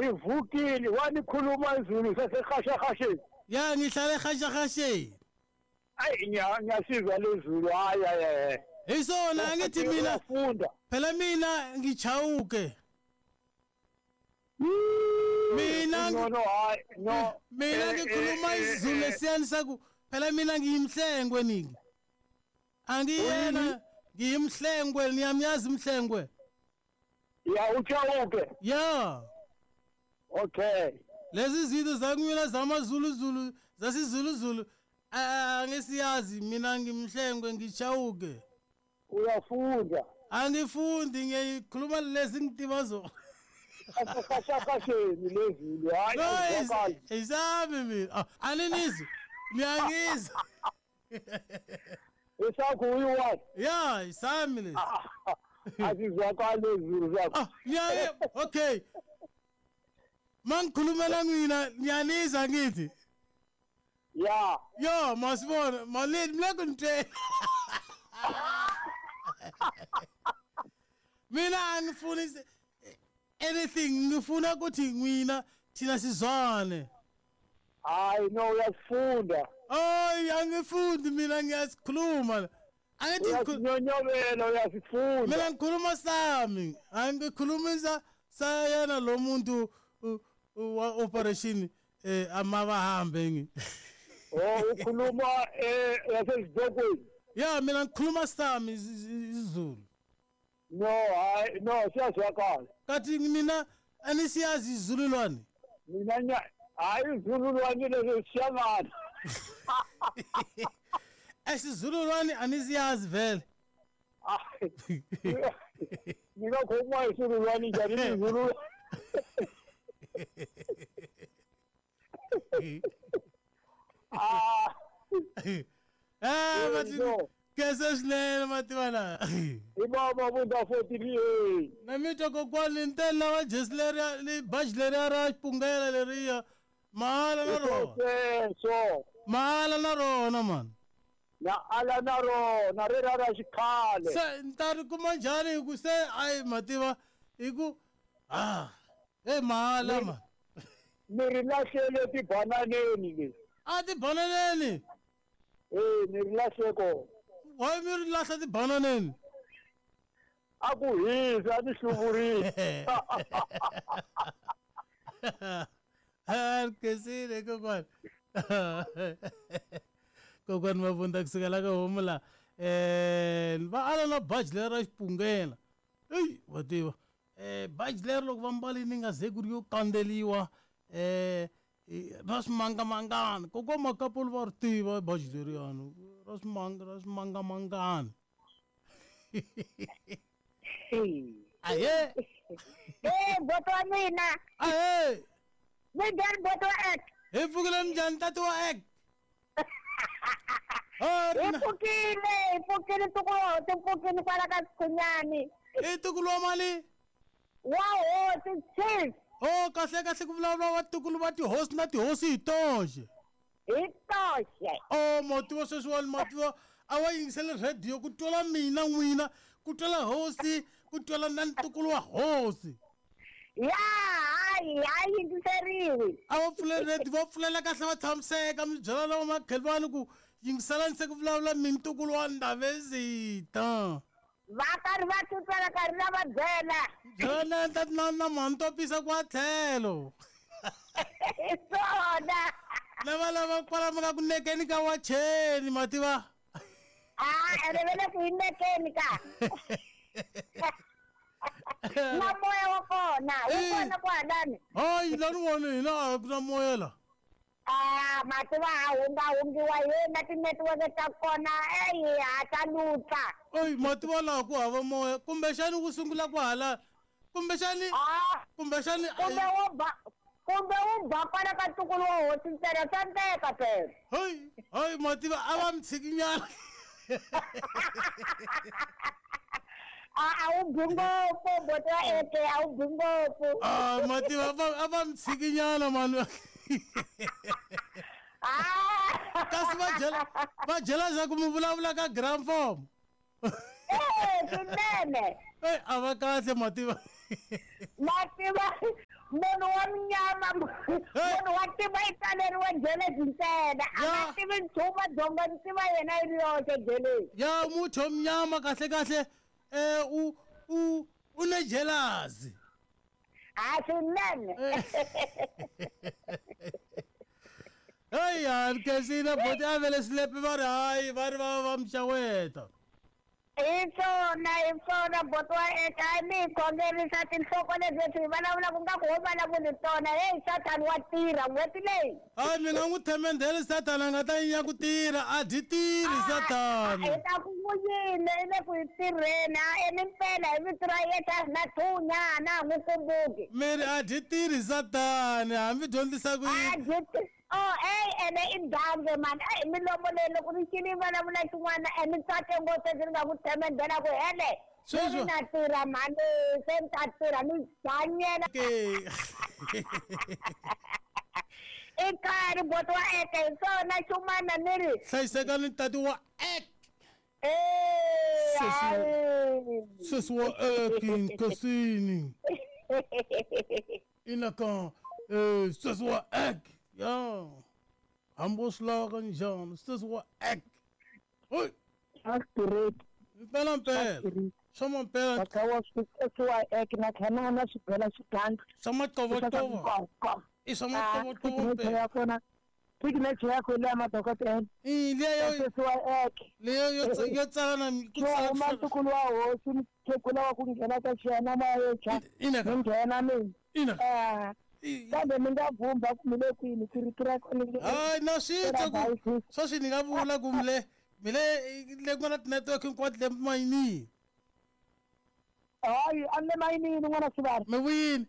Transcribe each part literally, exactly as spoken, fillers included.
Ivukile wanikhuluma izulu sasehashahasheni. Ya ngihlale ehashahasheni. Ayi ngiyasizwa lezulu hayi hayi. Isona angithi mina phela mina ngichawuke. Mina no no hayi no mina ngikhuluma isiZulu lesiyani saku phela mina ngiyimhlengwe ningi. Angiyena ngiyimhlengwe niyamyazi imhlengwe. Ya uchawuke. Ya. Okay. Lezi zinto zakumina zamaZulu Zulu zasiZulu Zulu angisiyazi mina ngimhlengwe ngichawuke. Uyafunda. Angifundi ngiyikhuluma lezi ngitibazo. Asashashasheni lezulu hayi azwakali. Isami mina aninizwa ngiyangizwa. Isakho uyiwazi. Ya isami lezi. Azizwakali lezulu zakho. Ah ngiyaye okay. Mangikhulumela mina ngiyanizwa ngithi. Ya. Yo masibona malini mlekunte. Mina angifuni anything ngifuna ukuthi mina thina sizwane. Hayi no uyafunda. Hayi angifundi mina ngiyasikhuluma. Angithi uyazinyonyobela uyasifunda. Mina ngikhuluma sami angikhulumisa sayena lo muntu wa operation eh amabahambe ngi. Oh ukhuluma eh yasezidokweni. Ya mina ngikhuluma sami isiZulu. No hayi no siyazwakala. Kathi mina anisiyazi isiZululwane. Mina nya hayi isiZululwane lezo siyangana. Esizululwane anisiyazi vele. Mina khuluma isiZululwane njani isiZulu. Ah. Ah bathi kesesilele mativana. Ibaba bunda forty-eight. Na mito kokwani ntela wa jesleria li bajleria ra pungela leria mahala na ro. So mahala na rona man. Na ala na ro na re ra xikhale. Se ntari kuma njhani ku se ai mativa iku ah eh mahala man. Mi ri lahlele tibananeni le. A tibananeni. Eh ni ri lahle ko. Why mi ri lahla tibananeni? A ku hisa ni hluvurile. Ha kesile kokwani. Kokwani Mabunda kusukela ka homu la eh va ala na baji lera xipungela. Ey wa tiva. Eh baji lero loko va mbalini nga ze ku ri yo kandzeliwa eh ra swimangamangana kokwa Makapolo va ri tiva baji leriyani ra swimanga ra swimangamangana. Aye eh boto wa mina. Aye minjhani boto wa ek? Hi pfukile minjhani tati wa ek? Hi pfukile hi pfukile ntukulu wa hosi pfukile kwala ka Sikhunyani. I ntukulu wa mali? Wa hosi chief. Oh kahle kahle ku vulavula wa ntukulu va tihosi na tihosi hi toxe. Hi toxe. Oh mativa sweswiwani mativa a wa yingisele radio ku twela mina n'wina ku twela hosi ku twela na ntukulu wa hosi. Ya hayi hayi yingiseriwi. A va pfuleli radio va pfulela kahle va tshamiseka mi byela lava makhelwani ku yingiselani se ku vulavula mi ntukulu wa Ndhavezita. Va karhi va titwela karhi na va byela. Byela na na na mantopisa kwa tlhelo. Hi swona. Lava lava kwala ka ku nekeni ka wacheni mativa. Ah ene vele ku nekeni ka. Na moya wa kona wu kona kwalani. Hayi lani wona hina a ku na moya la. Ah mativa a hunga hungiwa yena tinetiweke ta kona eyi ha ta lutla. Oyi mativa laha ku hava moya kumbexani ku sungula ku hala kumbexani kumbexani kumbe wo ba kumbe wu ba kwala ka ntukulu wa hosi ntsena swa ndleka phela. Hayi hayi mativa a va mi tshikinyana. A a wu bi ngopfu boto wa eke a wu bi ngopfu. Ah mativa a va mi tshikinyana mani. Ah kasi va byela va byela za ku mi vulavula ka gram form. Eh swinene. Eh a va kahle mativa. Mativa munhu wa jelezi ntsena a nga tivi nchumu dzonga ni tiva yena yi ri yoxe jelezi ya mutho mnyama kahle kahle eh u u u ne jealousy a swinene hey ya Nkensina boti a vele swilepe va ri hayi va ri va va mixaweta hi swona hi swona boti wa eka mi hi khongerisa tinhloko leswi hi vulavulaka nga ku ho vulavuli tona heyi sathani wa tirha n'hweti leyi hayi mi nga n'wi themendheli sathana a nga ta yinya ku tirha a dyi tirhi sathana hi ta ku n'wi yini i le ku hi tirheni a eni mpela hi vito ra Yesu a hi na thunya a na ha n'wi kumbuki mi ri a dyi tirhi sathani hambi dyondzisa ku a yini dyi oh ey ene i dange mani eyi milomo leyi loko ni xini yi vulavula xin'wana e ni tsake ngopfu leswi ni nga ku themendhela ku hele Sweswo. ni na tirha mhani se ni ta tirha ni hanyela ke i khari boti wa eke hi swona xumana ni ri hlayisekani tati wa ek Eh, Sesi- hayi. sesi wa ek Nkosini inaka eh sesi wa ek ya hambi wo swi lava ka njhani sesi wa ek oy Accurate. mpela mpela swa mampela Bakhawa swi ek na khana na swibela swiganga. swa matovotovo i swa matovotovo Signature mpela ya kona. Signature ya kona ya madokodela. i liya yo Sesiwa ek. leyo yo tsa- yo tsala na ku Xo tsala huma ntukulu wa hosi mukhegula wa ku nghena ka xiyanamayecha. inaka Mi nghena mina. ina Eh, kambe mi nga vhumba ku mi le kwini ku rito ra kona li- hayi na swi twa ku Ra sweswi ni nga vula ku mile mile le ku nga na ti-network hinkwato le mayinini Hayi a ni le mayinini n'wana swivari. mi vuyini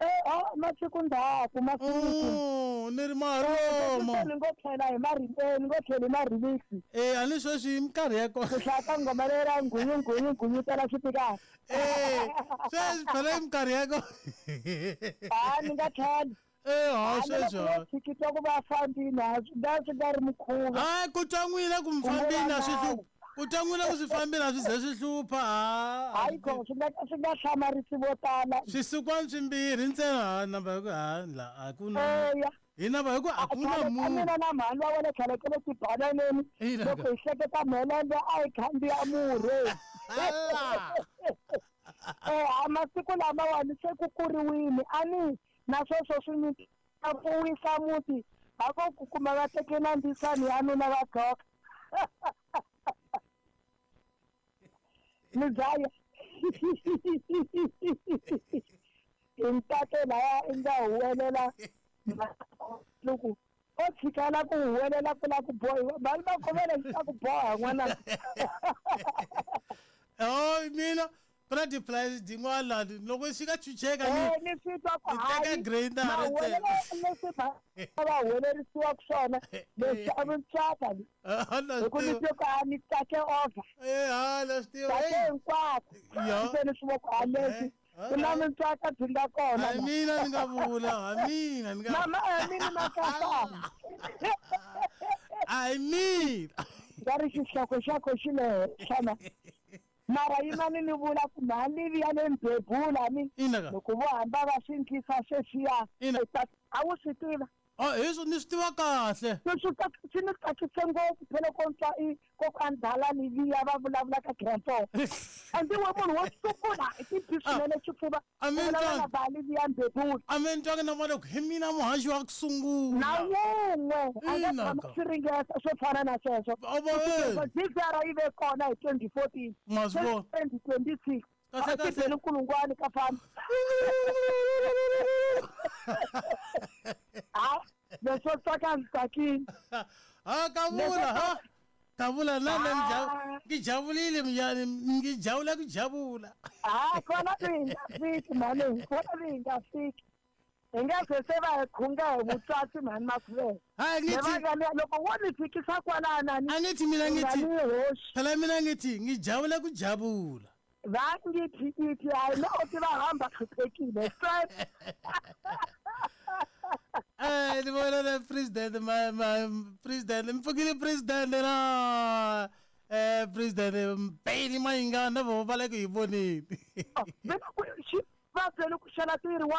Eh, ah, masiku ndzhaku masiku. Oh, ni ri maromo Se ni ngo tlhela hi mari eh, ni ngo tlhela hi ma-remix. eh a ni sweswi hi minkarhi ya Ku kona hlaya ka nghoma leyi ra nghunyu nghunyu nghunyu tala xipikara. eh sweswi phela hi minkarhi ya kona Ha ni nga tlhela. eh ha A ni sweswi loko ha. tshikitwa ku va fambini a swi nga swi nga ri mukhuva. hayi ku twa n'wina ku mi fambini a swi hlupha ku twa n'wina ku swi fambini a swi ze swi hlupha ha Hayi kho swi nga swi nga hlamarisi vo tala. swisikwana swimbirhi ntsena ha namba hi ku ha la a ku na Eya. hi namba hi ku a ku na Khale ka munhu mina na mhani wa wena khale ka le tibananeni Ina. loko hi hleketa mhelembe a hi khandziya murhi. Ala. Eh, a masiku lamawani se ku kuriwile a ni na sweswo swi ni a ku wisa muti a ko ku kuma va teke na ndzisani ya nuna va dloka ni dlaya hi ntate laya i nga huwelela loko o tshikela ku huwelela ku la ku bohiwa mali va khomela xi ta ku boha n'wana oh mina ku na ti-price tin'wana lani loko xi nga chucheka ni Eh, ni swi twa ku ni teka hayi grader mahuwelela leswi va va huwelerisiwaka swona leswi a mi tsaka Ah, na hi ku swi ni tiva twe ku a ni tsake over eh ha na swi tiva tsake Eh, hinkwako Ya. se ni swi vo ku a leswi Eh, ku na mintswaka byi nga kona ha la. mina ni nga vula ha mina ni nga mama a mini makasana a hi mina nga ri xihloko xa ko xi le henhla na mara yimani ni vula ku mhalivi ya le mbebula ni ina ka loko vo hamba va swi ndlisa sweswiya Ina. a wu swi tiva oh hi swo ni swi tiva kahle swi swi tsak- swi ni tsakise ngopfu phela ko twa i kokwani Dalani liya va vulavula ka grand four a ndzi we munhu wo sungula hi tibi swinene xifuva A mi ku vulavula na twangi. Bali liya mbebula a mi ni twangi na vona ku hi mina muhaxi wa ku sungula na wun'we a nga Ina tshama ka. swi ringeta swo fana na sweswo A va Loko G V R yi ve kona hi twenty fourteen Ma swi vona. twenty twenty six Kahle, a kahle. ti beli nkulungwane ka fana ha leswo tsaka ndzi tsakile ha kavula ha kavula na mina Ah. ngijabulile mnyani ngijabula kujabula ha kona vi hi nga fiki mhani kona vi hi nga fiki hi nga ze se va hi khunga hi vutswatsi mhani makhuvele hayi ngithi nevangani loko wo ni fikisa kwalana ni angithi mina nga ngithi ni hoxi phela mina ngithi ngijabula kujabula va ngithi ithi hayi no ti va hamba hluphekile straight Eh ni vona na president ma ma president mpfukile president na eh president Mpeli Mayingana vo va le ku hi voneni mina ku xi va byele ku xela tiri wa